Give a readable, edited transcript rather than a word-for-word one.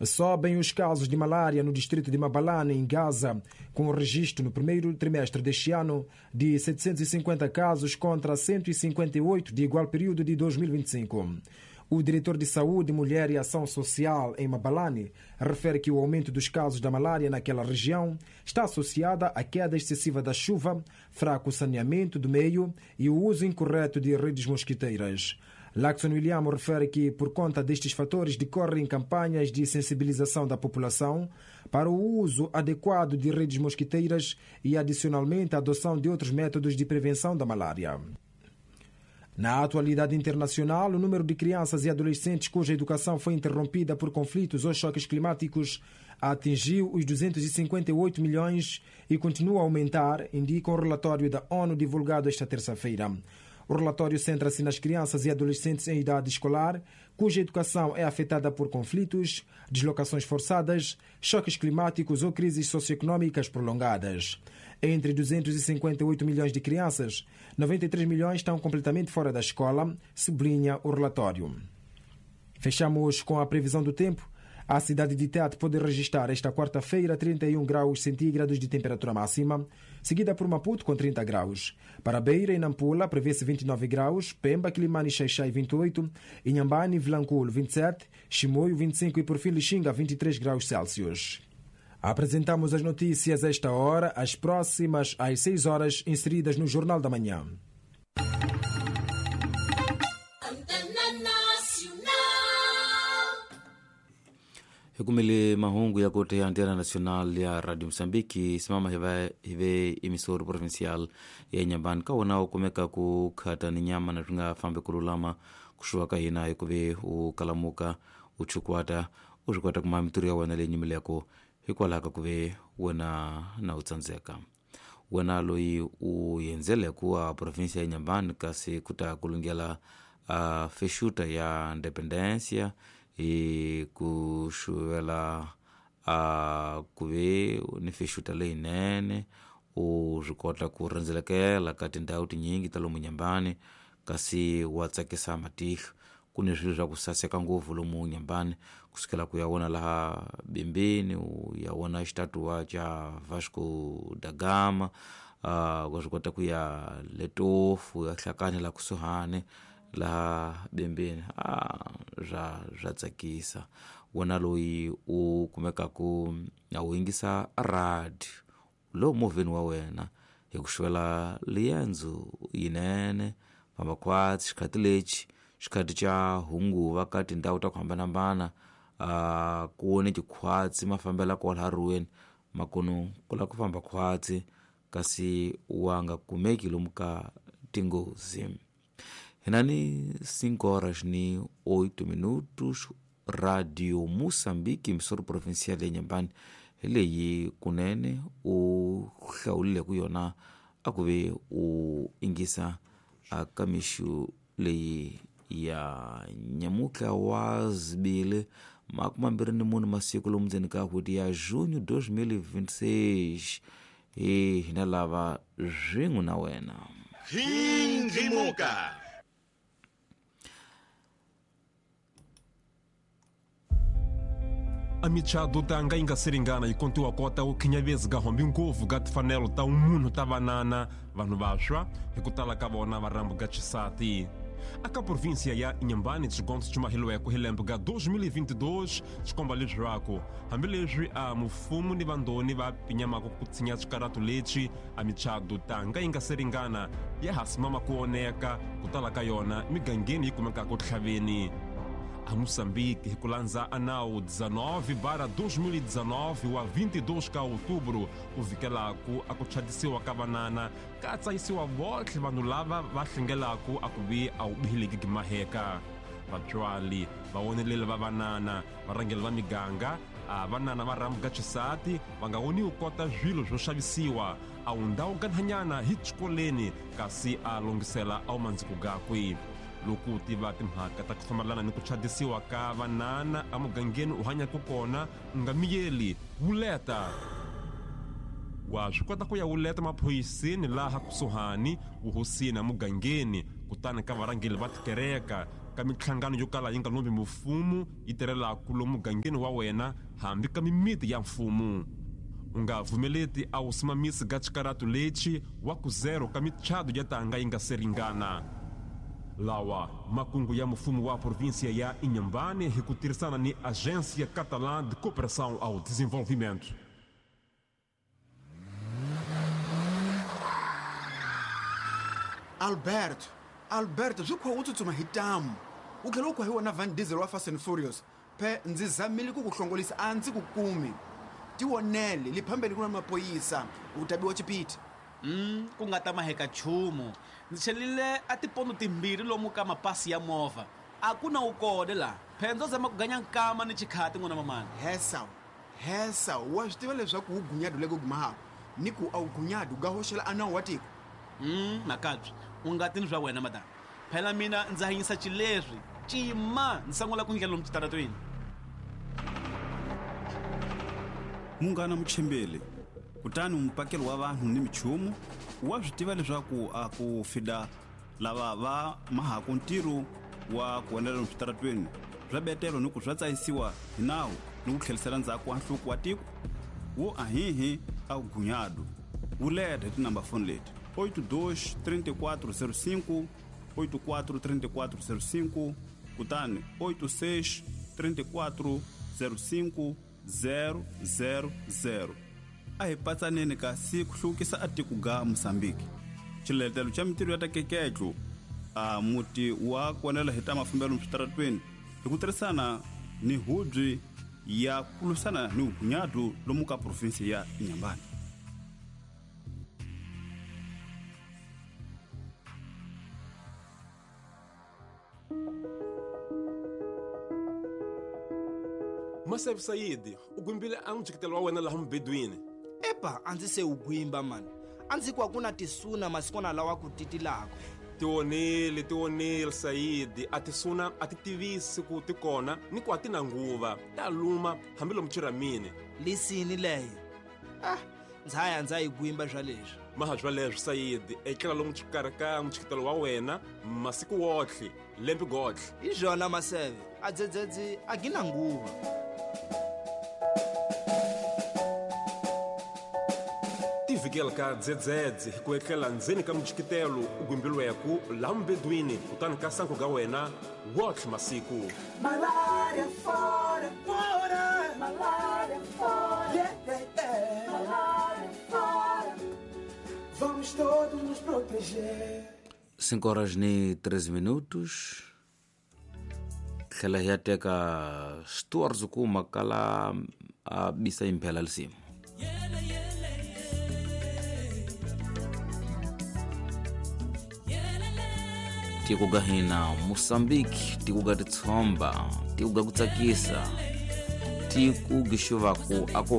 Sobem os casos de malária no distrito de Mabalane, em Gaza, com o registro no primeiro trimestre deste ano de 750 casos contra 158 de igual período de 2025. O diretor de Saúde, Mulher e Ação Social em Mabalane refere que o aumento dos casos da malária naquela região está associada à queda excessiva da chuva, fraco saneamento do meio e o uso incorreto de redes mosquiteiras. Laxon William refere que, por conta destes fatores, decorrem campanhas de sensibilização da população para o uso adequado de redes mosquiteiras e, adicionalmente, a adoção de outros métodos de prevenção da malária. Na atualidade internacional, o número de crianças e adolescentes cuja educação foi interrompida por conflitos ou choques climáticos atingiu os 258 milhões e continua a aumentar, indica um relatório da ONU divulgado esta terça-feira. O relatório centra-se nas crianças e adolescentes em idade escolar, cuja educação é afetada por conflitos, deslocações forçadas, choques climáticos ou crises socioeconômicas prolongadas. Entre 258 milhões de crianças, 93 milhões estão completamente fora da escola, sublinha o relatório. Fechamos com a previsão do tempo. A cidade de Tete pode registrar esta quarta-feira 31 graus centígrados de temperatura máxima, seguida por Maputo com 30 graus. Para Beira e Nampula prevê-se 29 graus, Pemba, Quilimane e Xaixai 28, Inhambane e Vilanculo 27, Chimoio 25 e por fim Lixinga 23 graus Celsius. Apresentamos as notícias a esta hora, as próximas às 6 horas, inseridas no Jornal da Manhã. Hikumile mahungu ya kote ya Antena Nacional ya Radio Msambiki simama hive emisoro provincial ya Inhambane kawona ukumeka kukhata ni nyama na twinga fambe kululama kushuwa ka hina hikuve ukalamuka uchukwata uswikwata kuma mitiro ya wena leyi nyimileko hikwalaho ka kuve wena na utsandzeka wena loyi u yendzeleko a provinsia ya Inhambane kasi kuta kulungela a fexuta ya Independencia hi ku xuvela a ku ve ni fexuta leyinene u swi kota ku rhendzelekela ka tindhawu tinyingi ta lomu Inhambane kasi wa tsakisa matihlo ku ni swilo swa ku saseka ngopfu lomu Inhambane kusukela ku ya vona laha Bembeni u ya vona xitatuwa xa Vasco da Gama wa swi kota ku ya Letofu ya Hlakani la kusuhani laha Bembeni swa tsakisa wona loyi u kumekaku a wu yingisa radio lowu movheni wa wena hi ku xivela liendzo yinene famba khwatsi xikhati lexi xikhati xa hunguva ka tindhawu ta ku hambanahambana ku ni tikhwatsi mafambela kwalaha ruweni makunu ku lava ku famba khwatsi kasi wa nga kumeki lomu ka tinghozi. Hinani 5 horas ni 8 minutos, Radio Moçambique, emissora provincial ya Inhambane, hi leyi kunene u hlawulile ku yona a ku ve u ingisa ka mixo leyi ya nyamutlha wa zibili 24 masiku lomu ndzeni ka n'hweti ya junho 2026 hi hina lava swin'we na wena. Hindzimuka. A michado tanga ingaseringana ikontiwa kota u khinyavezi ga hombi ngopfu ga tifanelo ta munhu ta vanana vanhu vaxwa hi ku tala ka vona va rambu ga xisati. Aka província ya Inhambane xigondzo xi mahilweko hi lembe ga 2022 xikomba leswaku hambileswi a mufumo ni vandoni va pinyamaka ku tshinya swikaratu lexi a michado tanga yi nga se ringana ya ha simama ku oneka ku tala ka yona migangeni yi kumekaka tlhaveni. A Moçambique hi ku landza a nawu 19/2019 wa 22 ka outubro u vikelaku a ku chadisiwa ka vanana ka tsayisiwa votlhe vanhu lava va hlengelaku a ku vi a wu bihileki gimaheka. Vatswali vawoneleli va vanana varhangeli va miganga a vanana va rhambu ga xisati va nga woniwi kota swilo swo xavisiwa a wu ndhawu ganhanyana hi xikoleni kasi a longhisela a wu mandziko gakwe. Loko u tiva timhaka ta ku fambelana ni ku chadisiwa ka vanana emugangeni u hanyaka kona u nga miyeli wuleta. Wa swi kota ku ya wuleta maphoyiseni laha kusuhani vuhosini emugangeni kutani ka varhangeli va tikereka ka minhlangano yo kala yi nga lombi mfumo yi tirhelaka lomu mugangeni wa wena hambi ka mimiti ya mfumo. U nga vumeleti a wu simamisi ga xikaratu lexi wa ku zero ka michado ya tanga yi nga se ringana. Lawa makungu ya mfumo wa província ya Inhambane hi ku tirhisana ni Agência Catalã de Cooperação ao Desenvolvimento. Alberto, Alberto, swi kha u tsutsuma hi tamu u tlhela u khwahiwa na Van Diesel wa Fast and Furious. Phe ndzi zamile ku ku hlongolisa a ndzi ku kumi. Tionele li phambeni ku na mapoyisa u tabiwa chipiti. Ku nga ta maheka nchumu. Ndzi chelile a tipondo timbirhi lomu ka mapasi ya movha. A ku na wu kona la. Phe ndzo zama ku ganya nkama ni chikhati n'wana mamani. Hesa, hesa, wa swi tiva leswaku wu gunyadu le ku gumahako ni ku a wu gunyadu ga hoxela a nawu wa tiko. Makabyi, u nga tini swa wena madam. Phela mina ndzi hanyisa xileswi. Cima ndzi sungula ku ndlela lomu xitaratweni. Munghana Muchimbeli, kutani mupakeli wa vanhu ni michumu wa swi tiva leswaku a ku fida lava va mahaku ntirho wa ku endlela lomu switaratweni swa betelo ni ku swa tsayisiwa hi nawu ni ku tlherisela ndzhaku wa nhluko wa tiko wo ahihi a gunyadu. Wu leta hi tinamba foni leti 82 34 05 84 34 05 kutani 86 34 05 000. A hi patsaneni kasi ku hluvukisa a tiko ga Mozambique. Xiletelo xa mintirho ya ta keketlo a muti wa konela hi ta mafambelo switaratweni hi ku tirhisana ni hubyi ya ku lwisana ni vugunyadu lomu ka provinsi ya Inhambane. Maseve Saidi, u gwimbile a mujikitelo wa wena laha mubedweni. Epa, a ndzi se wu gwimba mani. A ndzi ku a ku na tisuna masikwana lawa ku titilaka. Tionile Saidi, a tisuna a ti tivisi ku ti kona ni ku a ti na nguva. Ta luma hambi lomu chiramini. Lisini leyo. Ndza ya ndza yi gwimba swa leswi. Maha swa leswi Saidi, etlela lomu xikarhi ka mujikitelo wa wena masiku wotlhe, lembe gotlhe. Hi swona Maseve, a dzedzedzi a gi na nguva. Tivikela ka dzedzedze hi ku etlela ndzeni ka mujikitelo u gwimbilweku laha mubedweni kutani ka sangu ga wena wotlhe masiku. Malaria fora, fora, malaria fora, yeah, yeah, yeah. Malaria fora, vamos todos nos proteger. 5 horas ni 13 minutos. Tlhela hi ya teka Stuart Zukuma kala a bisa imphela lisimu. Tiko ga hina Mozambique, tiko ga titshomba, tiko ga ku tsakisa, tiko gixuvaku a ku